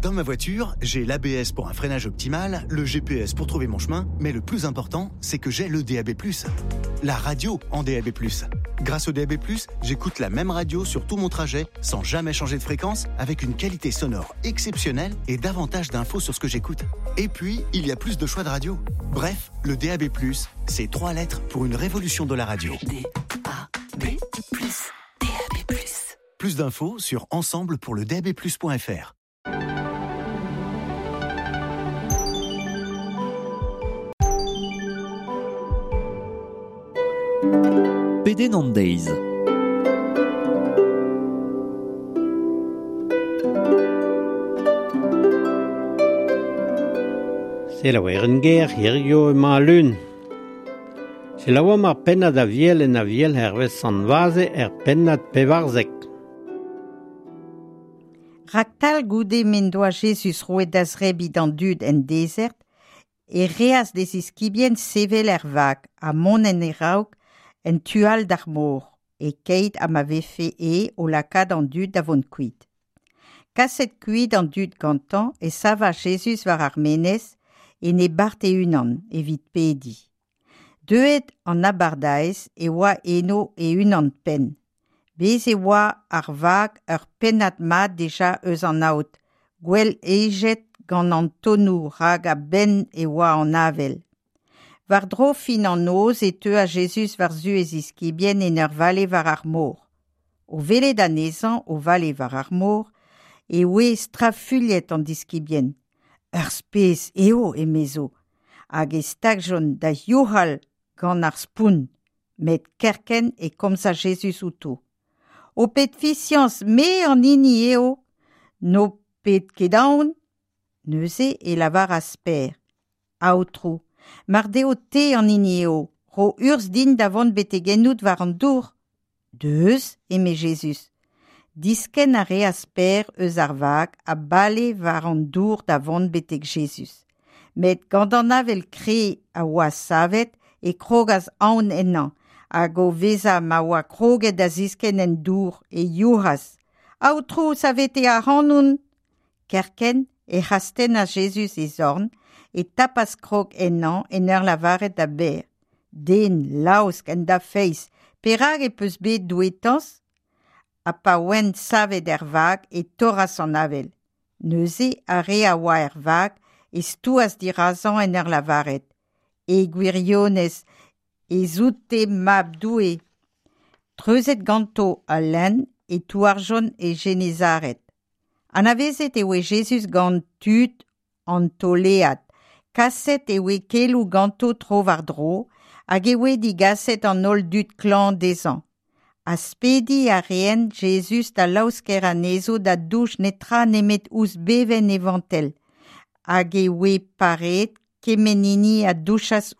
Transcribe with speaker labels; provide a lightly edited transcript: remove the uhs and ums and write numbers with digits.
Speaker 1: Dans ma voiture, j'ai l'ABS pour un freinage optimal, le GPS pour trouver mon chemin, mais le plus important, c'est que j'ai le DAB+. La radio en DAB+. Grâce au DAB+, j'écoute la même radio sur tout mon trajet, sans jamais changer de fréquence, avec une qualité sonore exceptionnelle et davantage d'infos sur ce que j'écoute. Et puis, il y a plus de choix de radio. Bref, le DAB+, c'est trois lettres pour une révolution de la radio.
Speaker 2: D-A-B+, DAB+.
Speaker 1: Plus d'infos sur ensemblepourledabplus.fr.
Speaker 3: Pedenn an deiz.
Speaker 4: Selaouer en ger, hirio emañ al lun. Selaouomp ar pennad Aviel en Aviel hervez Sant Vaze er pennad 14.
Speaker 5: Raktal goude m'en doa Jezuz roet da zrebiñ d'an dud en dezert, e reas d'e ziskibien sevel er vag ha mont en e raok en tu all d'ar mor, e-keit ha ma vefe e o lakaat an dud da vont kuit. Kaset kuit an dud gantañ e savas Jezuz war ar menez en e bart e-unan evit pediñ. Deuet an abardaez e oa eno e-unan-penn. Bez' e oa ar vag ur pennad mat dija eus an aod, gwell hejet gant an tonnoù rak a-benn e oa an avel. War-dro fin an noz e teuas Jezuz war-zu e ziskibien en ur vale war ar mor. O welet anezhañ o vale war ar mor e oe strafuilhet an diskibien. Ur spes eo, emezo, hag e stagjont da youc'hal gant ar spont, met kerkent e komzas Jezuz outo. Ho pet fiziañs, me an hini eo, n'ho pet ket aon. Neuze e lavaras Pêr, Aotrou, mar deo te an hini eo, ro urzh din da vont betek ennout war an dour. Deus, eme Jezuz. Diskenn a reas Pêr eus ar vag ha bale war an dour da vont betek Jezuz. Met gant an avel kreñv a oa savet e krogas aon ennañ, hag o vezañ ma oa kroget da ziskenn en dour e youc'has, Aotrou, savete ac'hanon! Kerkent ec'h astennas Jezuz e zorn, e tapas krog ennañ en ur lavaret da Bêr, Den laosk en da feiz, perak e peus bet douetañs? Ha pa oent savet er vag e torras an avel. Neuze ar re a oa er vag e stouas dirazañ en ur lavaret, E gwirionez ez out-te mab Doue. Treuzet ganto al lenn e touarjont e Genezared. Anavezet e oe Jezuz gant tud an tolead. Kaset e oe keloù ganto tro-war-dro hag e oe digaset an holl dud klañv dezhañ. Aspediñ a reent Jezuz da laosker anezho da douch netra nemet ouzh bevenn e vantell, hag e oe pareet kement hini a douchas